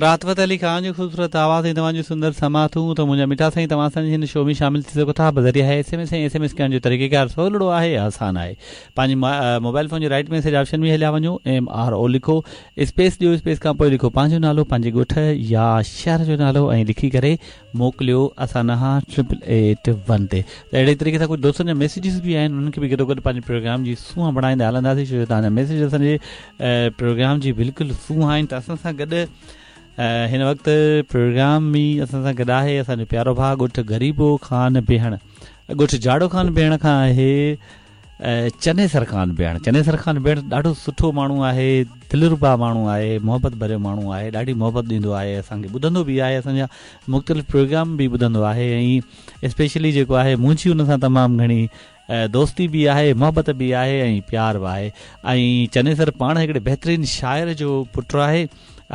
راحت فتح علي خان جو خوبصورت آواز ۽ توهان جون سندر سماعتون ته منهنجا مٺا سائين توهان اسان جي هن شو ۾ شامل ٿي سگهو ٿا بذريعه S M S ۽ S M S ڪرڻ جو طريقيڪار سولڙو آهي آسان آهي پنهنجي موبائل فون جي رائٽ ميسيج آپشن ۾ هليا وڃو ايم آر او لکو اسپيس ڏيو اسپيس کان پوء لکو پنهنجو نالو پنهنجي ڳوٺ يا شهر جو نالو ۽ لکي ڪري موڪليو اسان ڏانهن ٽرپل ايٽ ون تي ته اهڙي طريقي سان ڪجهه دوستن جا ميسيجز به آهن انهن کي به گڏو گڏ پنهنجي پروگرام جي سونهن بڻائيندا هلنداسين ڇو جو توهان جا ميسيج اسان جي پروگرام جي بلڪل سونهن آهن ته اسان سان گڏ هن وقت پروگرام ۾ اسان سان گڏ آهي اسان جو پيارو ڀاء ڳوٺ غريبو خان بيهڻ ڳوٺ جاڙو خان بيهڻ کان آهي چنيسر خان بيهڻ چنيسر خان بيهڻ ڏاڍو سٺو ماڻهو آهي دلربا ماڻهو آهي محبت ڀريو ماڻهو آهي ڏاڍي محبت ڏيندو آهي اسان کي ٻڌندو به آهي اسان جا مختلف پروگرام به ٻڌندو آهي ۽ اسپيشلي جيڪو آهي منهنجي ان سان تمام گهڻي دوستي به آهي محبت به آهي ۽ پيار به آهي ۽ چنيسر پاڻ هڪڙي بهترين شاعر جو پٽ آهي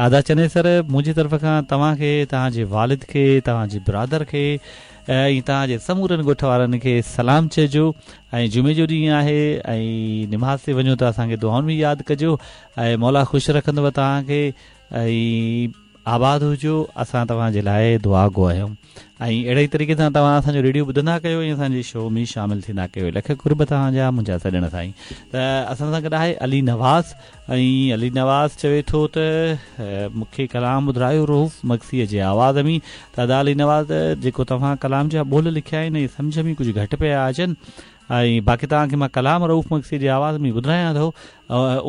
ادا چنيسر منهنجي طرف کان توهان کي توهان جي والد کي توهان جي برادر کي ۽ توهان جي سمورن ڳوٺ وارن کي سلام چئجو ۽ جمعي جو ڏينهن آهي ۽ نماز تي وڃو ته اسان کي دعائن ۾ ياد ڪجو ۽ مولا خوش رکندو توهان کي ۽ آباد هجو اسان توهان جي لاء دعا گو آهيون ۽ اهڙي ئي طريقي سان توهان اسان جو ريڊيو ٻڌندا ڪيو ۽ اسان جي شو ۾ شامل ٿيندا ڪيو لک قرب توهان جا منهنجا سڄڻ سائين ته اسان سان گڏ آهي علي نواز ۽ علي نواز چوي ٿو ته مون کي ڪلام ٻڌرايو رئوف مگسيء جي آواز ۾ ته ادا علي نواز جيڪو توهان ڪلام جا ٻول لکيا آهن اهي سمجهه ۾ ڪجهه گهٽ پيا اچن ۽ باقي توهان کي مان ڪلام رئوف مگسيء جي آواز ۾ ٻڌرايان ٿو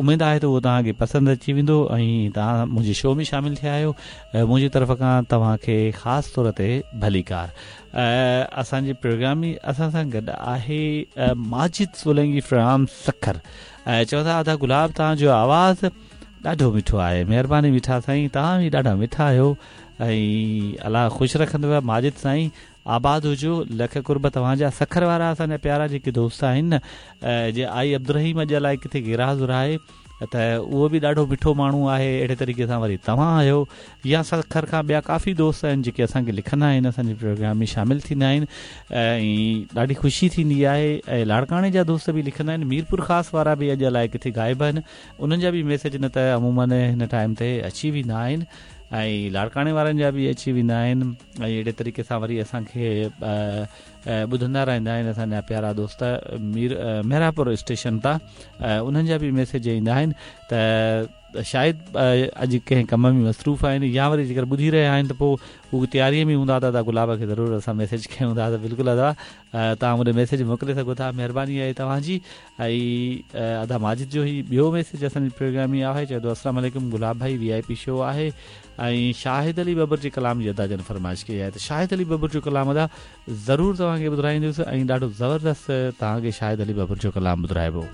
اميد آهي ته اهو توهان کي پسند اچي ويندو ۽ توهان منهنجي شو ۾ شامل ٿيا آهيو منهنجي طرف کان توهان کي خاص طور تي ڀليڪار اسان جي پروگرام ۾ اسان سان گڏ آهي ماجد سولنگي فرام سکر ۽ چون ٿا ادا گلاب توهان جو آواز ڏاڍو مٺو آهي مهرباني مٺا سائين توهان به ڏاڍا مٺا آهيو ۽ الله خوش رکندو ماجد سائين آباد هجو لک قرب توهان جا سکر وارا اسان جا پيارا جيڪي دوست آهن نه جي آئي عبدالرحيم اڄ الائي ڪٿي غير حاضر آهي ته اهو به ڏاڍو مٺو ماڻهو آهي اهڙي طريقي سان وري توهان آهيو يا سکر کان ٻيا ڪافي دوست آهن جيڪي اسان کي لکندا آهن اسان جي پروگرام ۾ شامل ٿيندا آهن ۽ ڏاڍي خوشي ٿيندي آهي ۽ لاڙڪاڻي جا دوست به لکندا آهن ميرپور خاص وارا به اڄ الائي ڪٿي غائب آهن انهن جا به ميسيج نه ته عموماً هن ٽائيم تي اچي ويندا آهن ۽ لاڙڪاڻي وارن جا به اچي ويندا آهن ۽ اهڙي طريقي سان وري اسان کي ٻڌندا رهندا آهن اسان جا پيارا دوست مير محرابپور اسٽيشن تان انهن جا به ميسيج ايندا آهن ته شايد اڄ ڪنهن ڪم ۾ مصروف آهن يا وري جيڪر ٻڌي رهيا آهن ته پوء هو تياري ۾ هوندا ته ادا گلاب کي ضرور اسان ميسيج ڪيون ٿا ته بلڪل ادا توهان مون ڏي ميسيج موڪلي سگهو ٿا مهرباني آهي توهان جي ۽ ادا ماجد جو هي ٻيو ميسيج اسان جي پروگرام ۾ آهي چئي ٿو السلام عليڪم گلاب ڀائي وي آء پي شو آهي ۽ شاهد علي ٻٻر جي ڪلام جي ادا جن فرمائش ڪئي آهي ته شاهد علي ٻٻر جو ڪلام ادا ضرور توهان کي ٻڌرائيندس ۽ ڏاڍو زبردست توهان کي شاهد علي ٻٻر جو ڪلام ٻڌرائبو.